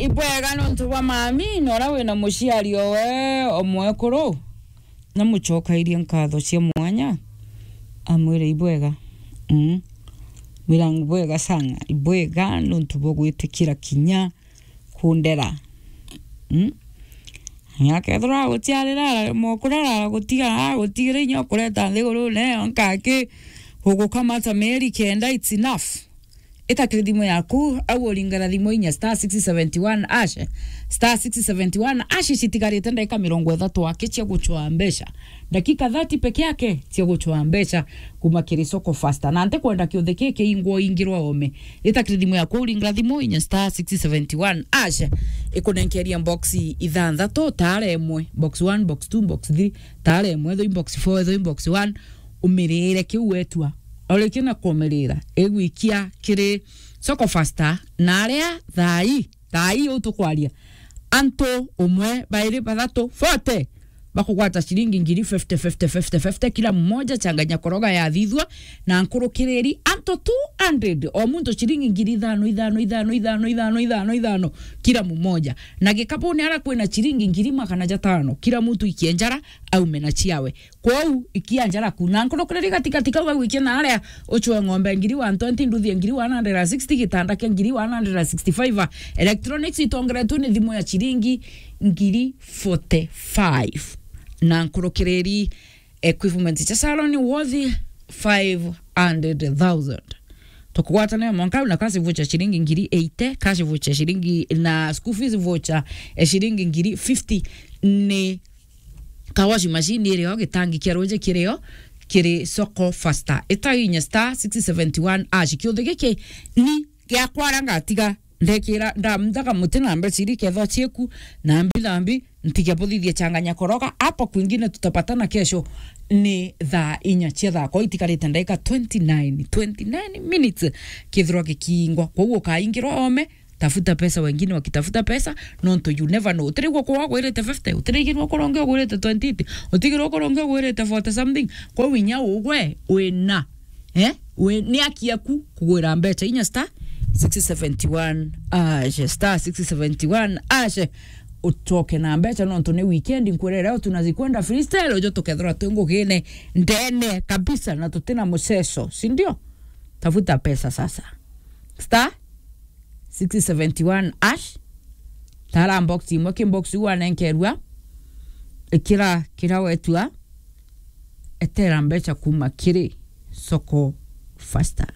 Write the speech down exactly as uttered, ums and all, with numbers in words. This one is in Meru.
Ibwega nontu bwa mami, na uria wina muciari owe omwekuru, na mucokairie nkatho cia mwanya, amwire ibwega. Mm. Mwira ibwega sana, ibwega nontu bwa gwitikira kinya kundera. Mm. Nya kethira gutiarira, mokura gutiga, gutigire inya kureta nthigurune, nkaki gugukamata mieri kenda, it's enough. Ita kiri thimu yaku, au uringara thimu inya star six seventy one hash, star six seventy one hash. Citigarite ndagika mirongo ithatu aki cia gucwaa mbeca, ndakika thirty peke yake cia gucwaa mbeca kuma kiri Soko Faster. Na ntikwenda kiuthi kii kiingwa uingirwa ome. Ita kiri thimu yaku, uringara thimu inya star six seventy one hash, ikunenkeria box ithanthatu, taara imwe, box one, box two, box three, taara imwe, ethoi box four, ethoi box one, umirire kiu wetua. Urikia na kumirira, igwikia kiri Soko Faster, na aria thaa ii, thaa ii utukwaria, antu umwe, bairi, bathatu, forty, bakugwata ciringi ngiri fifty, fifty, fifty, fifty, kila mmoja, changanya koroga yathithua, na nkurukiriri antu two hundred, o muntu ciringi ngiri ithano, ithano, ithano, kila mmoja. Na gikabuni ara kwina ciringi ngiri magana jatano, kila muntu ikie njara, aume na ciawe. Kwou, ikia njara ku. Na nkurukiriri gatigati kau gagwikia na aria, ucwe ng'ombe ngiri one twenty, nduthi ngiri one hundred sixty, gitanda kia ngiri one hundred sixty-five, electronics itongeretwe ni thimu ya ciringi ngiri forty-five. Na nkurukiriri equipment cia salon worth five hundred thousand. Tukugwatania mwanka na cash voucher ciringi ngiri eighty, cash voucher ciringi na school fees voucher, eh, ciringi ngiri fifty ni ka washing machine irio, gitangi kia ruji kirio, kiri Soko Faster. Ita inya star six seventy one hash. Kiuthi giki ni giakwa ara ngatiga ndekira, ndamthaga muti na mbeca iri kethwa cieku na mbithambi, ntige buthithie changanya koroga. Hapo kwingine tutapatana kesho ni thaa inya cia thako, itikarite ndagika twenty nine, twenty nine minutes kithirwa gikingwa. Kwou ukaingirwa ome, tafuta pesa, wengine wakitafuta pesa, nontu you never know. Utirigwa kwa ugwirite fifty, utirigirwa kwa ungi ugwirite twenty eight, utigirwa kwa ungi ugwirite forty something. Kwou inya ugwe wina, eh? We, ni aki yaku kugwira mbeca inya star six seventy one hash, star six seventy one hash. Ucoke na mbeca nontu ni weekend, nkwire leo tunazikwenda freestyle, ujo tukethirwa twi ngugine ndene kabisa na tutina muceco, si ndio? Tafuta pesa sasa. Star six seventy one hash. Tara box imwe, ki box u wanenkerua. Ikira kira wetua. Etera mbeca kuma kiri Soko Faster.